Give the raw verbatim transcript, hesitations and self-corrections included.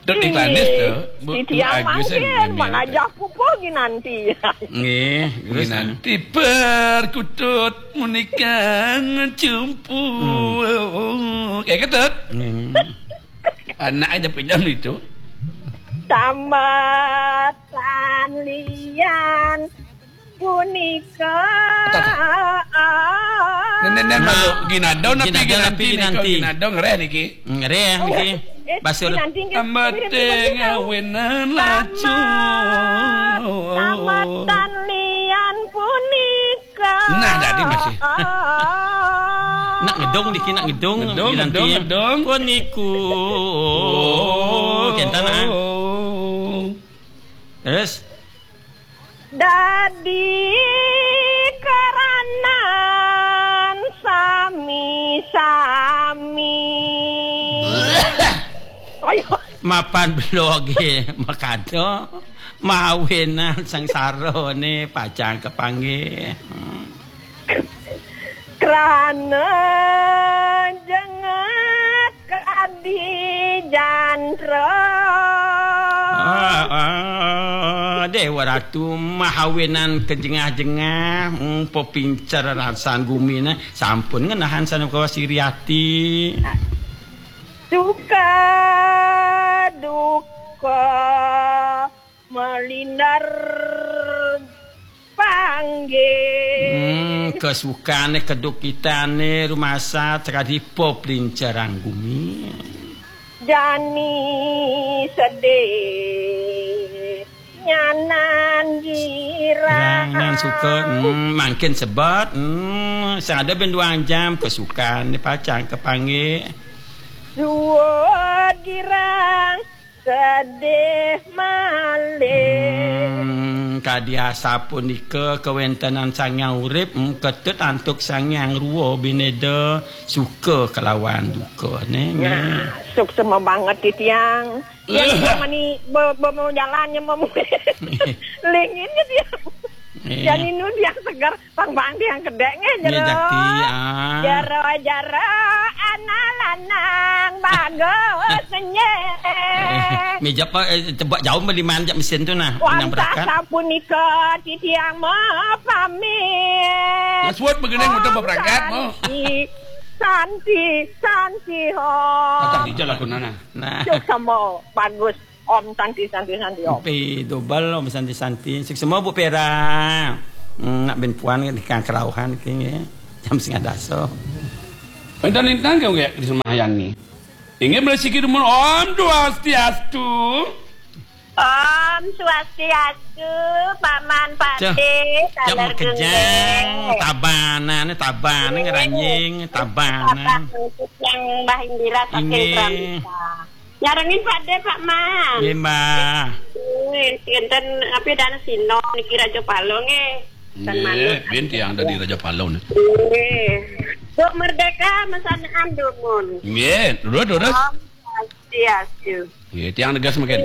Dot iklanis tu, Bu, Bu Agus kan, mana jah pupuh ginanti. Nggih, terus, Ginanti perkutut menikah cumpu. Hmm. Kayak ketut. Hmm. Anak aja pinjam itu. Tambatan lian punika. Nen, nen, nen, malu. Ginadau napi ginanti nika? Ginadau ngereh niki. Ngereh niki. Basur. Tambah tengah wenan lacur. Tambatan lian punika. Nah, tadi masih. Nak ngedong niki, nak ngedong. Ngedong, ngedong, ngedong. Puniku. Oh. Kentan, ah. Terus? Dadi karanan sami-sami. Ayo. Mapan beloge makado, mawinan sangsarane pacang kapanggih. Hmm. Krana jengat kadi jantra. Ah, ah, Dewa Ratu mahawinan kejengah-jengah, hmm, pepincer rasan gumine, sampun ngenahan sanakawa siri ati. Suka duka melindar panggih. Hmm, kesukane kedukitane rumasa terkadi pop lincerang gumi. Jani sedih nyanan girang. Jangan suka, hmm, mangkin sebet, hmm, sing ada ben dua jam kesukaan ni pacang kepanggih. Suud girang sedih malih. Hmm, kadi asapunika kawentenan Sang Hyang Urip, hmm, ketut antuk Sang Hyang Rua bineda suka kelawan duka, neh, neh. Nah, suksma banget titiang. Yang mani be-, be-, mau jalannya mau lingin gitu ya. Iya. Yang ini yang segar, pang bang yang kedek nggih. Nggih, jero. Jakti, ah. Jero, jero, anak lanang bagus nggih. Eh, meja apa, eh, coba jauh beli manjak mesin tu nah. Wantah berakat. Sapunika titiang mau pamit. Mas Wot begeneng muter berangkat mau. Santi, Santi, Santi ho. Datang di jalan kunana. Nah. Cuk sama bagus. Om Santi, Santi, Santi, Om. Pi double Om Santi, Santi. Suksma Bu Pera. Hmm, nak ben puan kan ikan kerauhan iki nggih. Jam setengah dasa. Enten-enten kok nggih di semayang ni. Inggih mresiki dumun Om Swastiastu. Om Swastiastu, Paman Pade, cah, cah saler mekejang, genggeng. Tabanan, tabanan, ngeranjing, tabanan. Tabanan, yang Mbah Indira saking Inggih. Pramita. Nyarengin Pak De, Pak Man. Nggih, Mbah. Nggih, enten apa dan Sino niki Raja Palo nggih. Nggih, manut. Bin tiang dari Raja Palo nih. Nggih. Bu Merdeka mesanaan dumun. Nggih, terus, terus. Om Swastiastu. Nggih, tiang tegas mungkin.